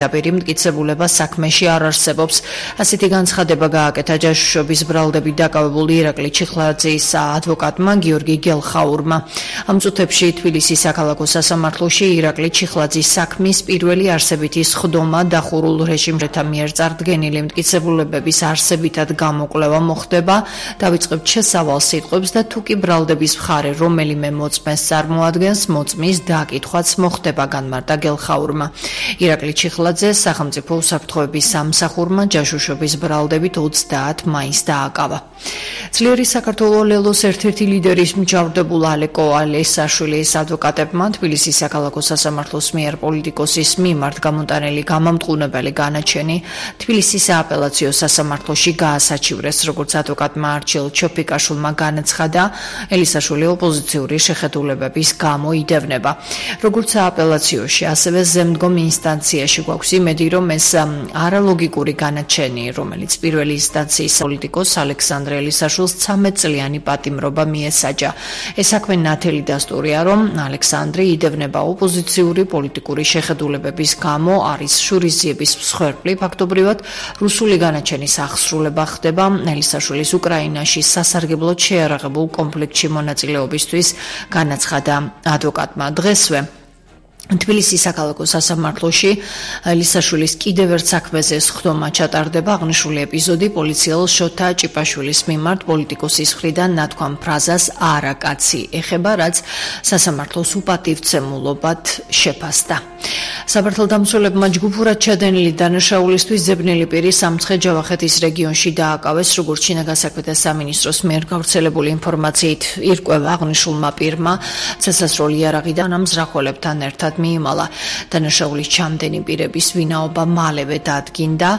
პირდაპირ მტკიცებულება საქმეში არ არსებობს. ასეთი განცხადება გააკეთა ჯაშუშობის ბრალდებით დაკავებული ირაკლი ჩიხლაძის ადვოკატმა გიორგი გელხაურმა. ამ წუთებში თბილისის საქალაქო სასამართლოში ირაკლი ჩიხლაძის საქმის პირველი არსებითი სხდომა დახურულ რეჟიმრეთა მიერ წარდგენილი მტკიცებულებების არსებითად გამოკვლევა მოხდება. დავიწყებთ შესავალ სიტყვებს და თუკი ბრალდების მხარე რომელიმე მოწმეს წარმოადგენს, მოწმის დაკითხვაც მოხდება, განმარტა გელხაურმა. ირაკლი ჩიხლაძე სახელმწიფო უსაფრთხოების სამსახურმა ჯაშუშობის ბრალდებით 30 მაისს დააკავა. ძლიერი საქართველოს ლელოს ერთ-ერთი ლიდერის მჯავრდებულ ალეკო ალესაშვილის ადვოკატებმა თბილისის საქალაქო სასამართლოს მიერ პოლიტიკოსის მიმართ გამოტანილი გამამტყუნებელი განაჩენი თბილისის სააპელაციო სასამართლოში გაასაჩივრეს, როგორც ადვოკატმა არჩილ ჩოფიკაშვილმა განაცხადა, ელისაშვილი ოპოზიციური შეხედულებების გამო იდევნება. როგორც სააპელაციოში, ასევე ზემდგომ ინსტანციაში გვაქვს იმედი, რომ ეს არალოგიკური განაჩენი, რომელიც პირველი ინსტანციის პოლიტიკოს ალექსანდრე ელისაშვილს 13 წლიანი პატიმრობა მიესაჯა. ეს საქმე ნათელი დასტურია, რომ ალექსანდრე იდევნება ოპოზიციური პოლიტიკური შეხედულებების გამო, არის შურისძიების მსხვერპლი. ფაქტობრივად, რუსული განაჩენის აღსრულება ხდება ელისაშვილის უკრაინაში სასარგებლოდ შეიარაღებულ კონფლიქტში მონაწილეობისთვის, განაცხადა ადვოკატმა. დღესვე თბილისის საქალაქო სასამართლოში ელისაშვილის კიდევ ერთ საქმეზე სხდომა ჩატარდება. აღნიშნული ეპიზოდი პოლიციელ შოთა ჭიპაშვილის მიმართ პოლიტიკოსის მხრიდან ნათქვამ ფრაზას „არა კაცი“ ეხება, რაც სასამართლოს უპატივცემულობად შეფასდა. საბართალდამცველებმა ჯგუფურად ჩადენილი დანაშაულისთვის ძებნილი პირი სამცხე-ჯავახეთის რეგიონში დააკავეს, როგორც შინაგან საქმეთა სამინისტროს მიერ გავრცელებული ინფორმაციით ირკვევა აღნიშნულმა პირმა ცეცხლსროლი იარაღიდან ამზრახველებთან ერთად მიიმალა. დანაშაულის ჩამდენი პირების ვინაობა მალევე დადგინდა.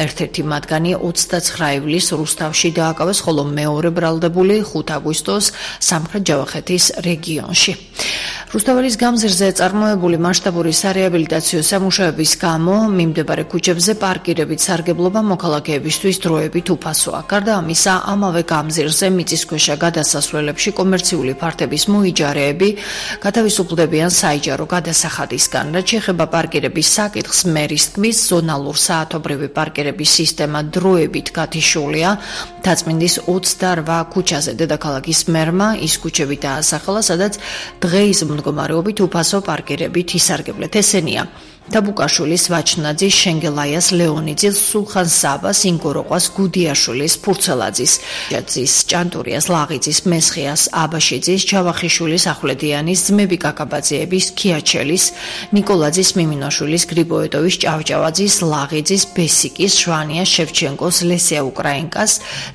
ერთ-ერთი მათგანი 29 ივლისს რუსთავში დააკავეს, ხოლო მეორე ბრალდებული 5 აგვისტოს სამხრეთ-ჯავახეთის რეგიონში. რუსთაველის გამზირზე წარმოებული მასშტაბურიარეაბილიტაციო სამუშაოების გამო მიმდებარე ქუჩებზე პარკირებით სარგებლობა მოქალაქეებისთვის დროებით უფასოა. გარდა ამისა, ამავე გამზირზე მიწისქვეშა გადასასვლელებში კომერციული ფართების მოიჯარეები გათავისუფლდებიან საიჯარო გადასახადისგან. რაც შეეხება პარკირების საკითხს, მერის თქმის, ზონალურ საათობრივი პარკირების სისტემა დროებით გათიშულია. დაწმინდის 28 ქუჩაზე დედაქალაქის მერმა ის ქუჩები დაასახელა, სადაც დღეის მდგომარეობით უფასო პარკირებით ისარგებლეთ. ესენია დაბუკაშვილის, ვაჩნაძის, შენგელაიას, ლეონიძის, სულხან-საბას, ინგოროყვას, გუდიაშვილის, ფურცელაძის, ჭანტურიას, ლაღიძის, მესხიას, აბაშიძის, ჯავახიშვილის, ახვლედიანის, ძმები კაკაბაძეების, ქიაჩელის, ნიკოლაძის, მიმინოშვილის, გრიბოეტოვის, ჭავჭავაძის, ლაღიძის, ბესიკის, შვანიას, შევჩენკოს, ლესია უკრაინკას,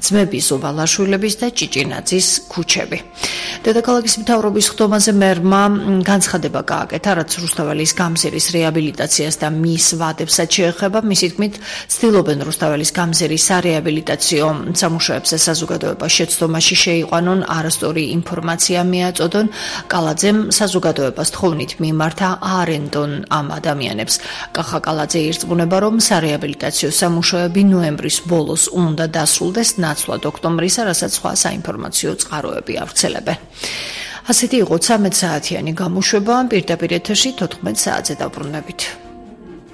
ძმები ზუბალაშვილების და ჭიჭინაძის ქუჩები. დედაქალაქის მთავრობის ხდომაზე მერმა განცხადება გააკეთა, რაც რუსთაველის გამზირის რეაბილიტაციას და მის ვადებსაც შეეხება. მისი თქმით, ცდილობენ რუსთაველის გამზირისარეაბილიტაციო სამუშაოებზე საზოგადოება შეცდომაში შეიყვანონ, არასწორი ინფორმაცია მიაწოდონ. კალაძემ საზოგადოებას თხოვნით მიმართა აარენდონ ამ ადამიანებს. კახა კალაძე ირწმუნება, რომარეაბილიტაციო სამუშაოები ნოემბრის ბოლოს უნდა დასრულდეს, ნაცვლად ოქტომბრისა, რასაც სხვა საინფორმაციო წყაროები ავრცელებენ. ასეთი იყო 13 საათიანი გამოშვება, პირდაპირ ეთერში 14 საათზე დაბრუნებით.